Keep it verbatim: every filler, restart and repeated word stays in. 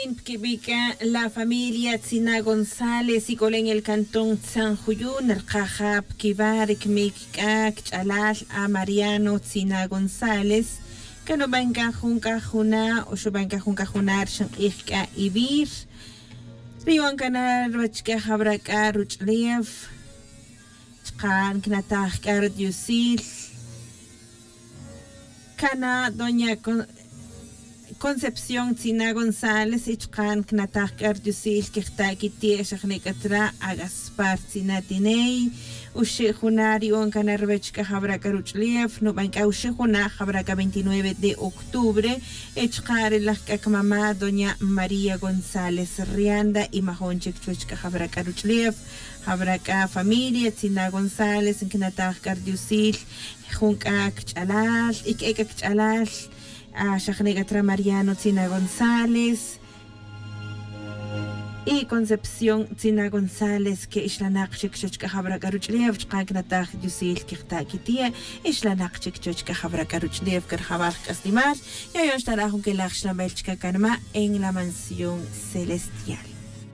Piquibi' c'a la familia tzina gonzález ic'olen el cantón tzanjuyun rkaja' piquiwa' ri cmic c'a cch'alal a mariano tzina gonzález. Can nuban c'a jun c'a juna' o xuban c'a jun c'a juna' rxin k'ij c'a ivir. Ri yu'on cana ruwech c'a jawra c'a ruch'ulef chka' ncnataj c'a ri diosil. Cana' doña concepción tzina gonzález y chka' ncnataj c'a ri diosil quejta' quiti' xajne' c'a tra' a gaspar tzina tiney. Uxe' juna' ri yu'on cana ruwech c'a jawra c'a ruch'ulef nuban c'a uxe' juna' jawra c'a veintinueve de octubre. Y chka' ri laj c'a cmama' doña maría gonzález rianda y majon chic chuwech c'a jawra c'a ruch'ulef jawra c'a familia tzina gonzález ncnataj c'a ri diosil jun c'a cch'alal y c'e c'a cch'alal. Xajne' c'a tra mariano tzina gonzález y concepción tzina gonzález que ixlanak chic chuwech c'a jawra c'a ruch'ulef chka' ncnataj diosil quejta' quiti' ixlanak chic chuwech c'a jawra c'a ruch'ulef c'a rajawal k'aslemal. Yoyon xtara' jun quelaj xlanbel chca canma' en la mansión celestial.